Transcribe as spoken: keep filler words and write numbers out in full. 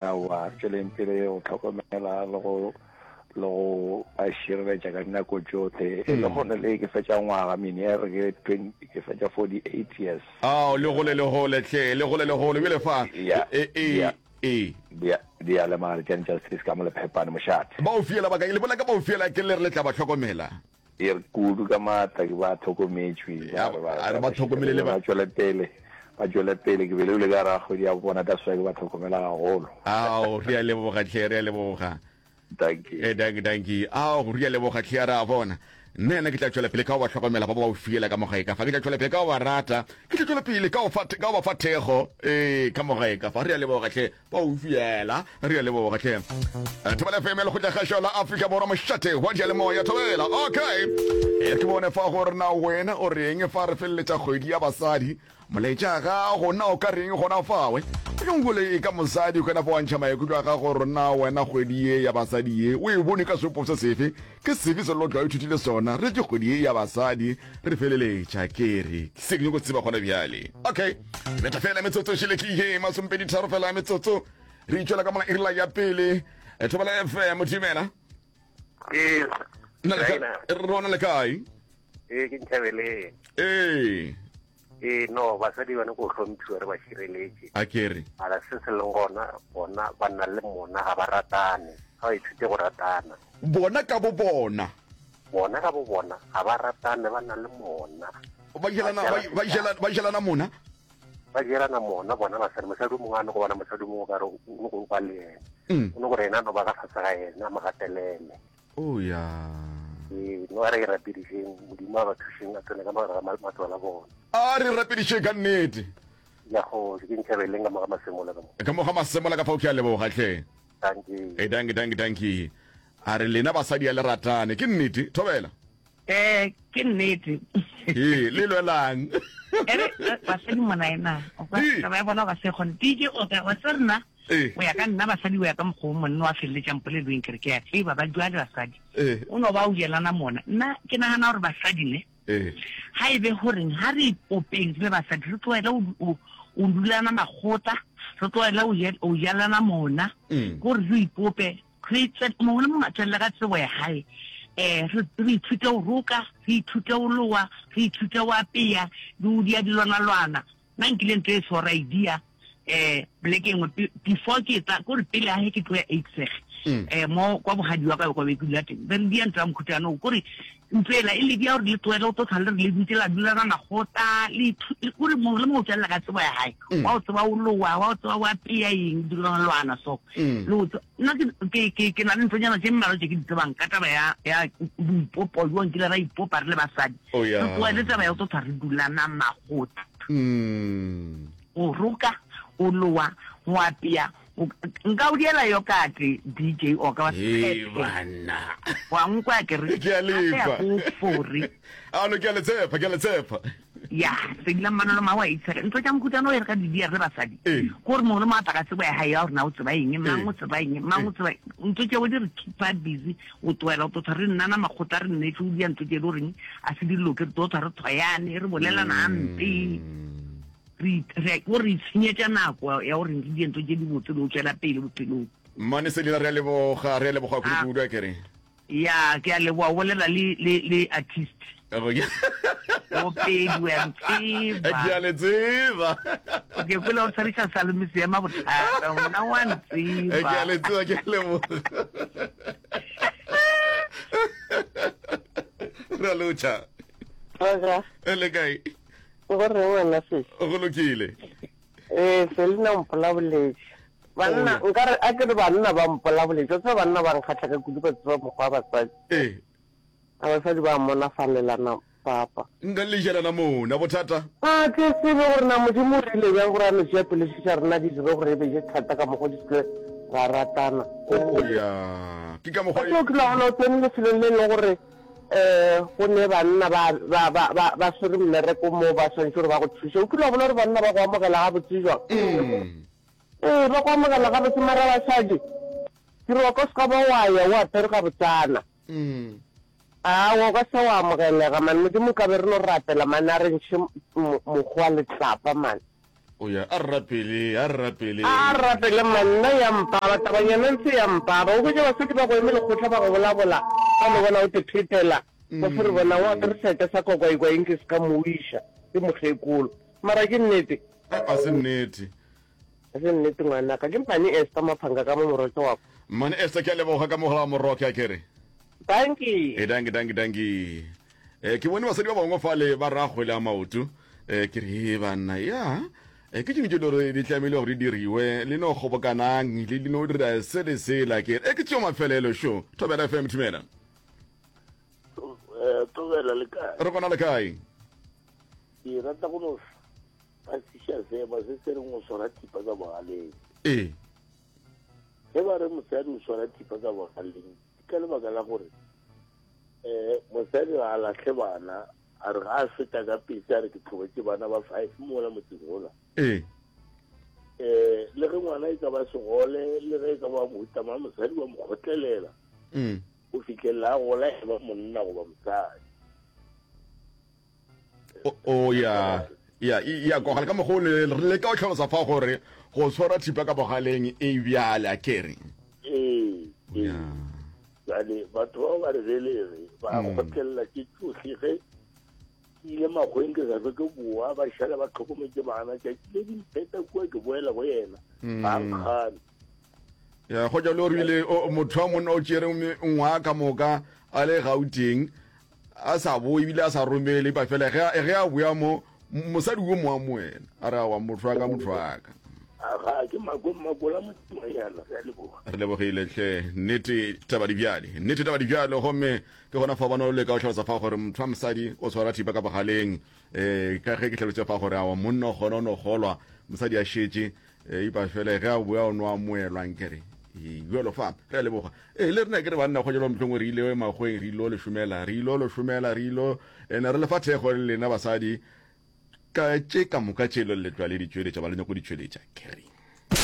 Aowa, tšweleng pele go hlokomela le go le go ba šireletša ka dinako tšohle. E le gone le ke fetša ngwaga mine re ke twenty ke fetša forty eight years. Ao, le gole le gole hle, le gole le gole. Bjale fa, Ya, e, e, ya. e. Di di a lemala tša Justice ka mo Lephepane mošate. Ba o fiela ba ka, le bona ka ba o fiela ke le re le tla ba hlokomela. E re kudu ka maatla ke ba hlokometšwe, Ya, ba re ba a re ba hlokomele le ba. ba tšwele pele, ba tšwele pele. Ke belegile ka gare ga kgwedi ya bona, that's why ke ba hlokomela gagolo. Ao, re a leboga hle, re a leboga. Dankie. Eh, dankie, dankie. Ao, re a leboga hle, re a bona. Nna yena ke tla tšwela pele ka go ba hlokomela ba ba o fiela ka mogae ka fa. Ke tla tšwela pele ka go ba rata. Ke tla tšwela pele ka go fa, ka go ba fa thekgo. Ee, ka mogae ka fa. Re a leboga hle, ba o fiela. Re a leboga hle. Eh, Thobela F M ya Lekgotlakgašo la Afrika Borwa, mošate wa diyalemoya. Thobela. Okay. Eh, ke bone fa gore na wena o reng fa re feleletša kgwedi ya basadi. Molaetša gago na o ka reng gona fawe? Ke e ka mosadi o kana fa wa ntšha maikutlo a gago gore na wena kgwedi ye ya basadi ye o e bone ka seopo se sefe? Ke sefe se lotlo a ithutile sona? Re ke kgwedi ye ya basadi re feleletša ke re se ke nyako tseba gona bjale. Okay, betha fela metsotso šele ke ye masomepedi tharo fela metsotso re itšwela ka mola irela ya pele. Thobela F M dumela. Ee. Nna le ka- rona le kae? Ee, ke Nthabeleng. Ee. Ee, no, basadi bana ko hlomphiwa re ba šireletše. A ke re. Mara se se leng gona, bona ba na le mona, ga ba ratane. Ga ba ithute go ratana. Bona ka bo bona. Bona ka bo bona, ga ba ratane, ba na le mona. Ba jelana, ba, ba jelana, ba jelana mona? Ba jelana mona, bona basadi. Mosadi o mongwe a no go bona mosadi o mongwe o ka re o no go ba le yena. Mm. O no gore yena a no ba ka fase ga yena, a mo gatelele. Oh, ya. Ee, no a re rapedišeng, Modimo a ba thušeng, a tsene ka mogare ga matlo a bona. A re rapedišeng ka nnete. Ya go, ke Nthabeleng ka mo ga Masemola ka mo. Ka mo ga Masemola ka fao ke a leboga hle. Dankie. Eh, dankie, dankie, dankie. A re lena basadi a le ratane, ke nnete, Thobela? Eh, ke nnete. Ee, le lwelang. Ere, basadi mona ena, o ka Ee. taba ya bona o ka se kgone. D J o ka, wa tseba rena, Ee. o ya ka nna basadi o ya ka mokgwa o monna wa feleletšang polelong ke re ke a tseba ba jwale basadi. Ee. O no ba o jelana mona. Nna ke nagana gore basadi ne, Ee. ha e be goreng ha re ipopeng re le basadi re tlohele o, o, o dulana makgotla, re tlohele o je-, o jelana mona, Mm. gore re ipope, re tswe-, mongwe le mongwe a tswelele ka tsebo ya hae. Eh, re, re ithute go roka, re ithute go loa, re ithute go apea, le go dia dilwanalwana. Nna nkile ntho e sora idea, eh, poleke engwe, pe-, before ke tla, kore pele ha he ke tloya Eidseg, Mm. eh, mo kwa bogadi wa ka kwa be ke dula teng. Be re dia ntho ya mokhutano, kore ntho ela e le dia gore le tlohele go tlo tlhola le re le dutse la dula na makgotla, le ithu-, le kore mongwe le mongwe o tswelela ka tsebo ya hae. Mm. Wa o tseba o loa, wa o tseba o apea eng, dilwanalwana so. Mm. Le o tse-, nna ke, ke, ke, ke na le nthonyana tše mmalwa tše ke di tsebang ka taba ya, ya boipopo jo nkile ra ipopa re le basadi. Oh, yeah. Re tlohele taba ya go tlo tlhola re dulana makgotla. Mm. O roka, o loa, o apea, o, nka o diela yokate, D J o ka wa Hei, tshepe. banna. Wa nkwa ke re, Ke a lefa. Gape ya go fore. A no, ke a le tshepa, ke a le tshepa. Ya, se dila mmanolo ma wa itshega. Ntho tša mokhutano o e re ka di dia re le basadi. Ee. Gore mongwe le mongwe a tla ka tsebo ya hae ya gore na o tseba eng, mang Ee. o tseba eng, mang o Ee. tseba eng. Ntho tšeo di re keepa busy, o tlohela, o tlo tshwara re nnana makgotla, re nnetse, o dia ntho tše e le goreng a se di loke, re tlo tshwara re tshwayane, re bolelana hampe. Re, re, o re itshenyetša nako ya gore re die ntho tše di botse le go tšwela pele bophelong. Mmane Selina, re a leboga, re a leboga kudu-kudu, a ke re. Ya, ke a leboga, o bolela le, le, le artist. Okay. O pedi, wa ntseba. Ke a le tseba. Okay, kwele o tshwariša Salome Seema bothata, nna wa ntseba. Ke a le tseba, ke a leboga. Re a lotšha. Roger. E le kae? Go reng wena sesi? Go lokile. Eh, Selina o mpolaboletše. Banna, Oh, yeah. nkare a ke re banna ba mpolaboletše. O tseba banna ba nkgatlha ka kudu, ba tseba mokgwa wa basadi. Eh. A basadi ba monafalelana papa. Nka le jelana mona bothata. A ke tsebe gore na Modimo o rile bjang gore a no tšea pelo tša rena di dire gore e be je thata ka mokgwa di se ra ratana. Oh ya. Ke ka mokgwa Ke o kile wa bona o tsene lefelong le leng gore eh go ne banna ba, ba, ba, ba, ba swere mmereko mo ba swanetše gore ba go thuše. O kile wa bona gore banna ba go amogela gabotse jwang? Mm. Ee, ba go amogela gabotse, mara basadi ke re wa ka se ka ba wa ya o apere gabotsana. Mm. Aowa, o ka se wa amogelega, man. Modimo ka be re no rapela, man, a re ntšhe mokgwa letlapa, man. O ya, a re rapele, a re rapele. A re rapele mma, nna ya mpaba, tabanyana ntse ya mpaba. O hwetša basadi ba go eme lekgotla ba go bolabola, ba no bona o te phetela, ba fo re bona o apere seeta sa kwakwaikwai nke se ka mo wiša, ke mokgekolo. Mara ke nnete? A se nnete. A se nnete ngwanaka. Ke Mmane Esther Maphanka ka mo Moroke wa. Mmane Esther ke a leboga ka mogala wa Moroke a ke re. Dankie. E dankie dankie dankie. Eh ke bone basadi ba bangwe fale ba ra kgwele ya maoto. Eh ke re he banna ya. Eh ke tšengwe tše gore di tlamehile gore di diriwe le no kgobokanang le le no dira se le sela ke re e ke tšeo mafelelo šo. Thobela F M thumela. Eh Thobela le kae? Re gona le kae? Ke rata go no phasiša seema se se reng o swara thipa ka bogaleng. Ee. Ge ba re mosadi o swara thipa ka bogaleng ke ka lebaka la gore um mosadi ga a lahle bana, a re ga a feta ka pese a re ke tlhogetše bana ba five mola motseng ola. Ee. Um le ge ngwana e ka ba segole, le ge e ka ba mohuta mang, mosadi wa mo kgotlelela Mm. go fihlelela a gola e ba monna goba mosadi. O, o ya ya ya kwagala ka mokgwa o le re leka go tlhalosa fa gore go tshwara thipa ka bogaleng e bjale a kere. Ee, ee. Ya. Bjale batho bao ba re belege ba Mm. kgotlelela tše tšohle ge ke ile makgweng ke sa hlwe ke boa, ba šala ba hlokometše bana. Tšatši le di mpheta kua ke boela go yena, ga Mm. nkgane. Ya go jalo re ile motho wa monna o tšere ngwaga ka moka a le Gauteng a sa boe ebile a sa romele ba fela ge ge a boya mo mosadi o mo amoela a re awa motho wa ka motho wa ka. Aga ke mako mako la modimonyana re a leboga. Re lebogile hle nnete taba di bjale nnete taba di bjale gomme ke gona fa bana o leka go hlalosa fa gore motho wa mosadi o tshwara thipa ka bogaleng eh ka ge ke hlalositse fa gore awa monna o kgona o no kgolwa mosadi a šetše Eipa fela ge a boya o no amoelwa nkere bjalo fa re a leboga ee le rena ke re banna go jalo mohlongwe re ile makgweng re ilo le šomela re ilo le šomela re ilo ene re le fa thekgo le lena basadi ka tše ka moka tše le letlwa le di tšweletša ba le nyako di tšweletša ke reng.